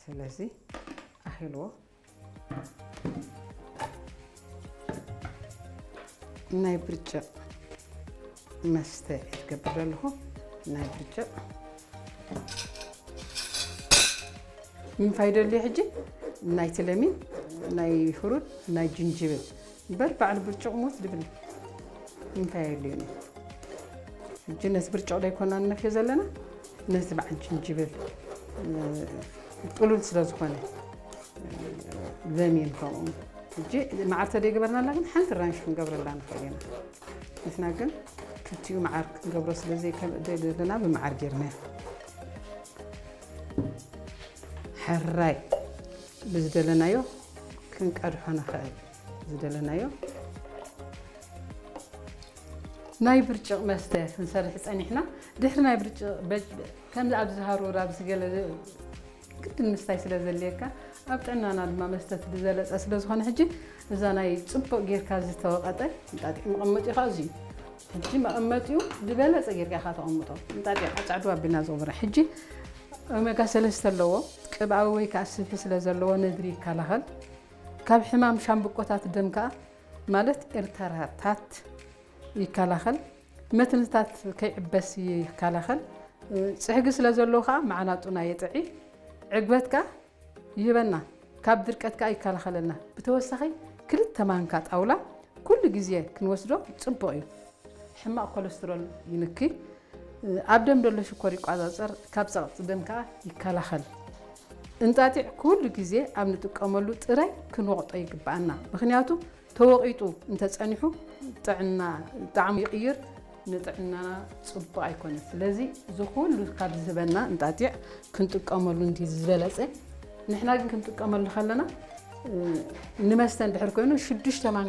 ስለዚ ኣኺልዎ። ናይ ብርጭቕ መስተ ትገብር ዘለኹ። ናይ ብርጭቕ ምንፋይ ደልዩ ሕጂ? ናይ ትለሚን፣ ናይ ፍሩት፣ ናይ ጅንጅብል። እምበር ባዕሉ ብርጭቕ ሞት ድብል ምንፋይ የድልዩን እዩ። ሕጂ ነቲ ብርጭቕ ደይኮና ንነፍዮ ዘለና፣ ነቲ በዓል ጅንጅብል፣ እ፣ ጥሉል ስለ ዝኾነ፣ ለሚን ከምኡ። ሕጂ መዓር ተደይገበርናላ ግን ሓንቲ ራንሽ ክንገብረላ ንኽእል ኢና። ንሕና ግን ክልቲኡ መዓር ክንገብሮ ስለ ዘይከ-፣ ደለና ብመዓር ጌርናዮ። ሕራይ ብዝደለናዮ ክንቀድሖ ንኽእል። ዝደለናዮ ናይ ብርጭቕ መስተ ክንሰርሕ ጸኒሕና። ድሕሪ ናይ ብርጭቕ በጅ-፣ ከምዚ ኣብዚ ሃሩር ኣብዚ ገለ ግድን ምስታይ ስለ ዘድልየካ፣ ኣብ ጥዕናና ድማ መስተ እቲ ዝበለጸ ስለ ዝኾነ፣ ሕጂ እዛ ናይ ጽቡቕ ጌርካ ዝተወቐጠ እንጣጢዕ መቐመጢኡ ኸኣ እዚ እዩ። ሕጂ መቐመጢኡ ዝበለጸ ጌርካ ኢኻ ተቐምጦ። እንጣጢዕ ጻዕዱ ኣቢልና ዝቕብረ። ሕጂ ኦሜጋ ሰለስተ ኣለዎ፣ ቅብኣዊ ወይ ከኣ ስብሒ ስለ ዘለዎ ነድሪ ይከላኸል። ካብ ሕማም ሻምብቆታት ደም ከኣ ማለት ኤርተራታት ይከላኸል። መትንታት ከይዕበስ ይከላኸል። ጽሕጊ ስለ ዘለዎ ከኣ መዓናጡና የጥዒ። ዕግበት ከኣ ይህበና፣ ካብ ድርቀት ከኣ ይከላኸለልና። ብተወሳኺ ክልተ ማንካ ጣውላ ኩሉ ግዜ ክንወስዶ ጽቡቕ እዩ። ሕማቕ ኮለስትሮል ይንኪ። ኣብ ደም ዘሎ ሽኮር ይቆጻጸር፣ ካብ ጸቕጢ ደም ከኣ ይከላኸል። እንጣጢዕ ኩሉ ግዜ ኣብ ንጥቀመሉ ጥራይ ክንወቕጦ ይግብኣና። ምኽንያቱ ተወቒጡ እንተጸኒሑ ጥዕና፣ ጣዕሙ ይቕይር፣ ንጥዕናና ጽቡቕ ኣይኮነን። ስለዚ እዚ ኩሉ ካብ ዝህበና እንጣጢዕ ክንጥቀመሉ እንዲ ዝበለጸ። ንሕና ግን ክንጥቀመሉ ከለና፣ እ፣ ንመስተ እንድሕር ኮይኑ ሽዱሽተ ማንካ